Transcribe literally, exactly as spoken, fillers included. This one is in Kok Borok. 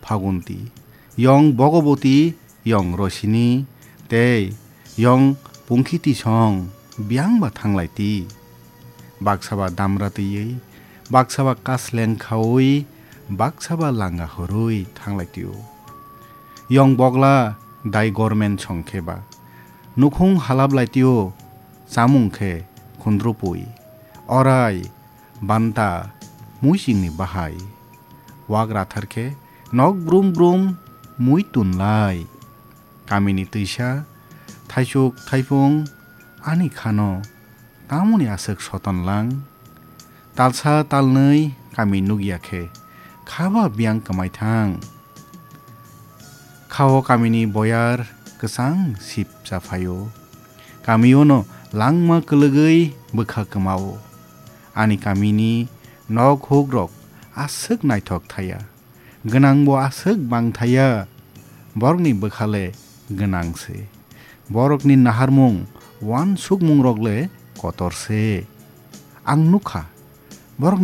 Phagunti, yong Bhogoboti, yong Rosini, tei yong Pungkhiti song biyang ba thanglai ti. Baksa ba damra twiwi, baksa ba kasleng khaui, baksa ba langa hurui thanglai tio. Yong Bogla dai gormen song khe ba. Nukhung halap lai tio, chamung khe khundrupui. Orai, banta, muisingni bahai. Wak rathar khe nok brum brum mui tunlai. Kamini twisa, thaisuk thaipung, ani khano tamoni aswk soton lang. Talsa talnwi kami nukya khe, khaba biyang kwmai thang. Khao kamini boyar kwchang sip chaphaio. Kamiono langma kwlwgwi bwkha kwmao. Ani kamini nok hukrok aswk naithok thaya. Gwnangbo aswk bang thaya. Borokni bwkhale gwnang se. Borokni naharmung, uansukmungrok le kotor se. Ang nukha,